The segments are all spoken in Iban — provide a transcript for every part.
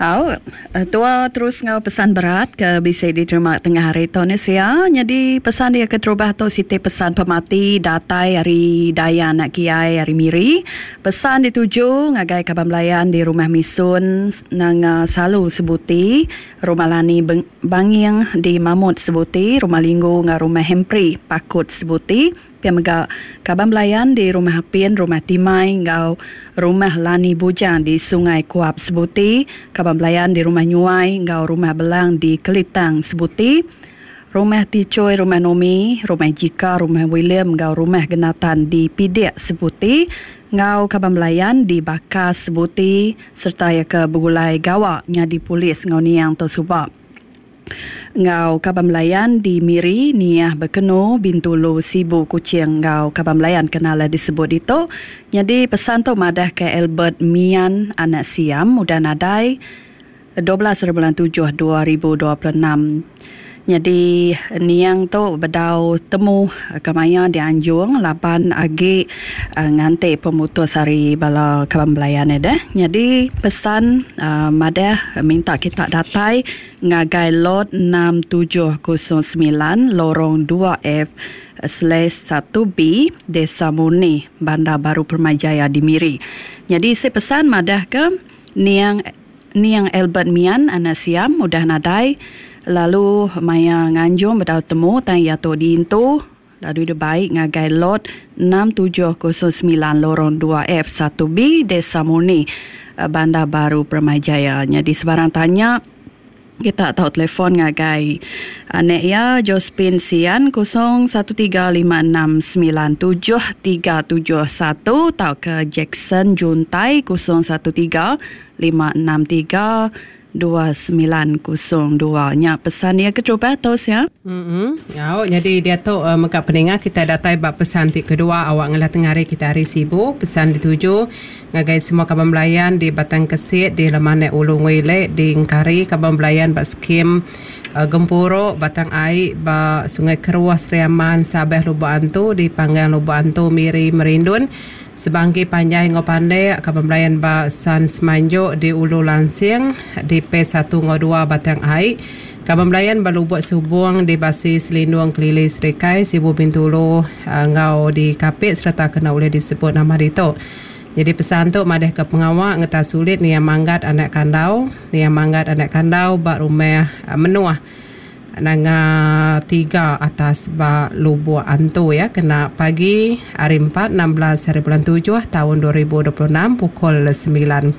Au, tua terus enggau pesan berat ke bisi diterima tengah hari tu ne sia. Nyadi pesan dia keterubah tu siti pesan pemati datai ari Daya anak Kiai ari Miri. Pesan dituju ngagai kaban belayan di Rumah Misun Nanga Salu Sebuti, Rumah Lani Banging di Mamut Sebuti, Rumah Linggu enggau Rumah Hempri Pakut Sebuti. Pia mega, kaban belayan di Rumah Apin, Rumah Timai enggau Rumah Lani Bujang di Sungai Kuap Sebuti, kaban belayan di Rumah Nyuai enggau Rumah Belang di Kelitang Sebuti, Rumah Tichoi, Rumah Nomi, Rumah Jika, Rumah William enggau Rumah Genatan di Pidik Sebuti enggau kaban belayan di Bakas Sebuti sereta iya ke begulai gawa nyadi polis enggau niang tu suba. Enggau kaban belayan di Miri, Niah, Bekenu, Bintulu, Sibu, Kuching enggau kaban belayan ke nala disebut ditu. Nyadi pesan tu madahka Albert Mian anak Siam udah nadai 12 hari bulan tujuh 2026. Nyadi niang tu bedau temu kemaya dianjung laban agi nganti pemutus ari bala kaban belayan iya deh. Nyadi pesan madah minta kita datai ngagai lot 6709 Lorong dua F slash satu B Desa Murni, Bandar Baru Permai Jaya di Miri. Nyadi isi pesan madahka niang Niang Albert Mian anak Siam udah nadai lalu maya nganjung bedau temu tang iya tu diintu lalu dibai ngagai Lot 6709 Lorong dua F satu B Desa Murni, Bandar Baru Permai Jaya. Nyadi sebarang tanya kita tau telefon ngagai anak iya Josephine Sian 0135697371 tauka Jackson Juntai 013563 2902. Nya pesan iya keterubah tu sia. Mm Au nyadi diatu mega peninga kitai datai ba pesan ti kedua awak ngelah tengah hari kitai hari Sibu pesan dituju ngagai semua kaban belayan di Batang Kesit di Lemanek Ulu Ngui Lek di Engkari kaban belayan ba skim Gempuru Batang Ai ba Sungai Keruh Sri Aman Sabeh Lubok Antu di Panggang Lubok Antu Miri Merindun Sebangki panjai enggau pandek kaban belayan ba San Semanjok di Ulu Lansing di Phase satu enggau dua Batang Ai. Kaban belayan ba Lubok Subong di Basi Selindung Kelili Serikai Sibu Bintulu enggau di Kapit sereta kena ulih disebut nama ditu. Nyadi pesan tu madahka pengawa ngetas sulit Niang Manggat anak Kandau, Niang Manggat anak Kandau ba Rumah Menuh. Nanga tiga atas ba Lubok Antu iya kena pagi hari Empat 16 hari bulan tujuh taun 2026 pukul semilan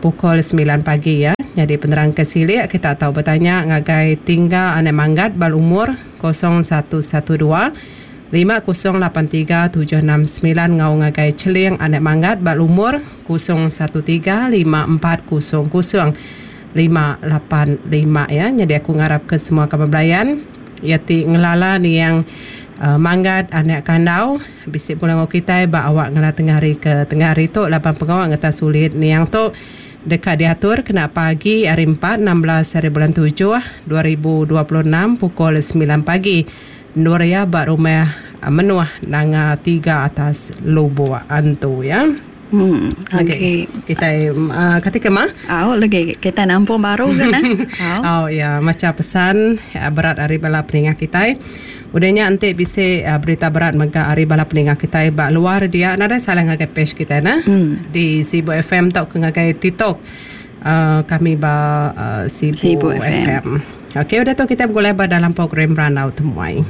pukul semilan pagi iya. Nyadi penerang ke silik kita tau betanya ngagai Tingga Anak Manggat ba lumur 0112 5083 769 enggau ngagai Cheling Anak Manggat ba lumur 013 5400 585 iya. Nyadi aku ngarap ke semua kaban belayan iya ti ngelala niang Manggat anak Kandau bisi pulai enggau kitai ba awak ngela tengah hari ke tengah hari tu laban pengawa ngetas ulit niang tu deka diatur kena pagi hari Empat 16 hari bulan tujuh 2026 pukul semilan pagi endur iya ba rumah Menuh Nanga Tiga Atas Lubok Antu iya. Hmm, lagi. Kitai uh, kati ke mah? Au lagi kitai nampung baru ke nah. Au. Au ya, macha pesan berat ari bala peninga kitai. Udah nya enti bisi uh, berita berat mega ari bala peninga kitai ba luar dia nadai salah ngagai page kitai nah. Hmm. Di Sibu FM tauka ngagai TikTok uh, kami ba uh, Sibu, Sibu FM. FM. Okey, udah tu kitai begulai ba dalam program Randau Temuai.